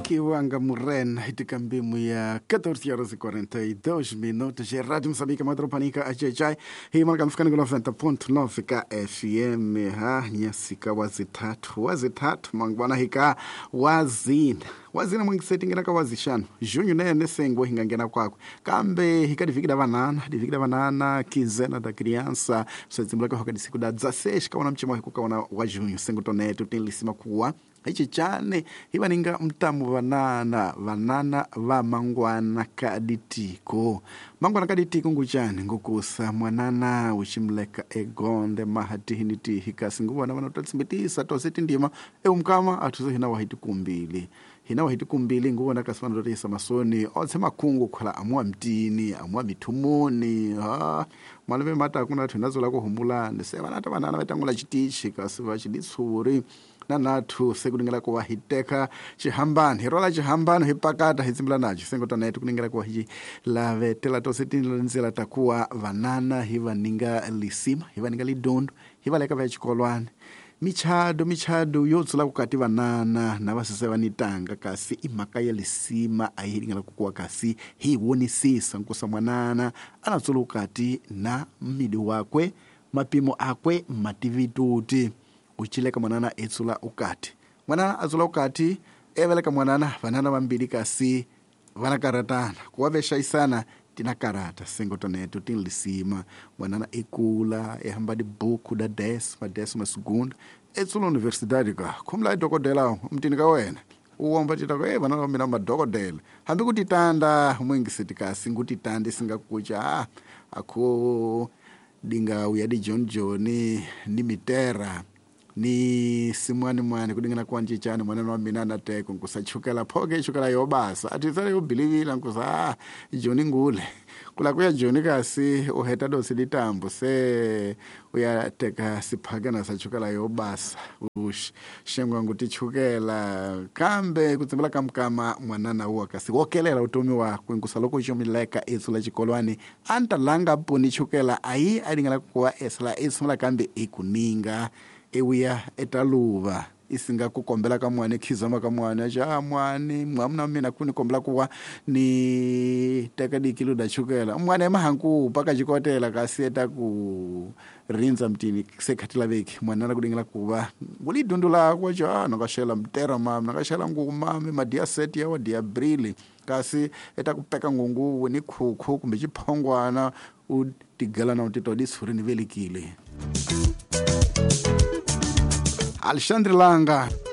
Kiwanga Murena itikambimo ya 14 horas e 42 minutos. É Rádio Moçambique, Madropanica, AJJ. E marcamos ficando com 90.9 KFM. Ha, nyasika wazitatu. Wazitatu, mangwana hika wazina. Wazina mwengiseti ngena ka wazishanu. Junho nene sengwe hinga ngena kwako. Kambe hika divikida banana, divikida banana, quinzena da criança. Só hoka disiku da 16 kaona mchimo hikuka wa junho. Sengo toneto, tem lisima kuwa. Ichi chane hivaninga mtamu vanana vanana va mangwana kaditiko mangwana kaditiko nguchane ngukusa mwanana uchimleka egonde mahatihini kasi nguvana vanotatsimbitisa tose tindima eumkama athuze hina wahiti kumbili hina wahiti kumbili nguvona kasi vanototisa masoni otse makhungu khala amwa mtini amwa mithumuni ha maleve mata kuna athu nazola kuhumulani se vanata vanana vatangula chitichi kasi vachiditsuri na nathu sekuningela kuwa hiteka chihambano hirola chihambano hipakata hitsimbila nacho sengotana yetu kuningela kuwa hichi lavetela tose tinzela takuwa vanana hivaninga lisima hivaninga lidondo hivaleka vya chikolwane michado yotsula kukati vanana na vasese vanitanga kasi imhaka ya lisima ayilingela kukuwa kasi hiwonisisa nkusa mwanana anatsula kukati na mmidi wakwe mapimo akwe mativituti uchileka mwanana etsula ukati mwanana atsula ukati eveleka mwanana vanana vambili kasi vanakaratana kuwaveshaisana tinakarata sengotoneto tinlisima mwanana ekula ehamba dibuku da décima décima segunda etsula universidade ka khumla idokodela mtini ka wena uwomba titako e vanana vamina madokodela hambi kutitanda mwingisiti kasi ngutitanda isingakucha akho dinga uyadi John John ni mitera ni simwani mwani kudingana kwanje chani mwana wa mina nateko nkusachukela phoke chukela yobasa atitsale yobilivila nkusa John ngule kula kuya John kasi uheta dosi litambo se uyateka siphakana sachukela yobasa ush shengwa ngutichukela kambe kutsimbela kamkama mwanana uwa kasi wokelela utomi wakwe nkusa loko chomileka etsula chikolwani antalanga poni chukela ayi alingala kuwa esla esula kambe ikuninga ewiya etaluva isinga kukombela ka mwane khizama ka mwane ja mwane mwamna mina kuni kombela kuwa ni teka dikilo da chukela mwane mahanku paka chikotela kasi eta ku rinza mtini sekhatila veki mwana kudingela kuva ngulidundula kwa ja nakashela mtera mama nakashela nguma madia set ya wa dia brili kasi eta kupeka ngungu ni khukhu kumbe chiphongwana u tigala na utito disuri ni velikile. Alexandre Langa.